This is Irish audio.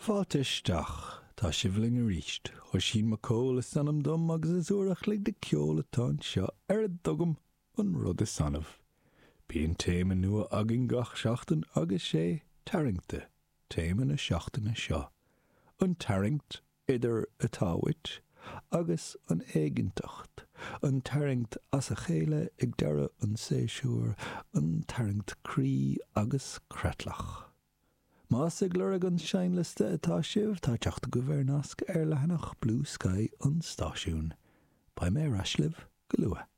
Fáilte isteach. Tá sibh linn arís. Oisín Mac Cóil is ainm dom agus is uair a chloig de cheol atá anseo ar a dtugaim an rud is annamh. Bíonn téama nua againn gach seachtain agus sé 'Tarraingte' téama na seachtaine seo. An tarraingt idir atá uait agus an éiginnteacht, an tarraingt as a chéile ag deireadh an tséasúir, an tarraingt croí agus creatlach. Más ag lorg an seinnliosta atá sibh, tá teacht agaibh ar nasc ar leathanach Bluesky an stáisiúin. Beidh mé ar ais libh go luath.